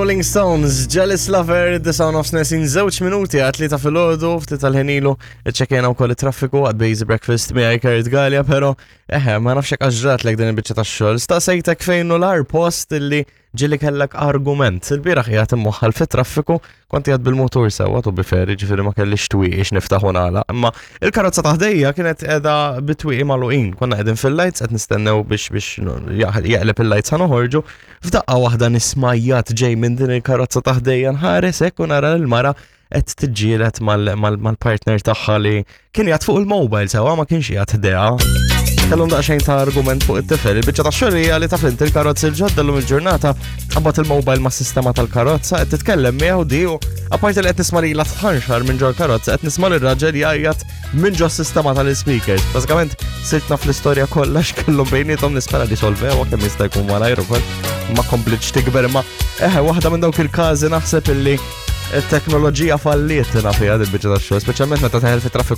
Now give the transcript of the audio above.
Rolling Stones, Jealous Lover, The Sound of Snesin, żewġ minuti għat li ta' filgħodu, ftit tal-ħinilu, iċċekjena wkoll it-traffiku għad Basic Breakfast miegħi Kurt Gallia, però eħe, ma nafx hekk għax din il-biċċa tax-xogħol. Staqsejtek fejn hu l-ar post illi ġieli kellek argument. Il-bieraħ qiegħed immoħħal fit-traffiku, kont qiegħed bil-mutur sewwa tu biferi, ġifieri ma kellix twieqi x'niftaħ u nagħlaq. Imma il-karozza ta' ħdejja kienet qiegħda bit-twieqi magħluqin. Konna qegħdin fil-lights qed nistennew biex biex jaqleb il-lights ħa noħorġu. F'daqqa waħda nismajjat ġej minn din il-karozza ta' ħdejja nħares hekk u nara l-mara qed tiġġieled mal-partner tagħha li kien jgħat fuq il-mobile sewa ma kienx jgħat ħdejha. Kellhom daqsxejn ta' argument fuq it-tifel. Il-biċċa ta' xogħol hija li taf inti il-karozzi l-ġodda llum il-ġurnata tqabbad il-mobile mas-sistema tal-karozza qed titkellem miegħu di u apparti li qed nisma' lilha tħanxar minn ġol karozza qed nisma' lir-raġel jgħajjat minn ġo sistema tal-speakers. Bażikament sirt naf l-istorja kollha x'kellhom bejniethom nispera li solvewa kemm jista' jkun malajr ukoll ma komplitx tikber imma eħe waħda minn dawk il-każi naħseb illi it-teknoloġija falliet fiha il-biċċa tax-xogħol, speċjalment meta teħel fit-traffiku.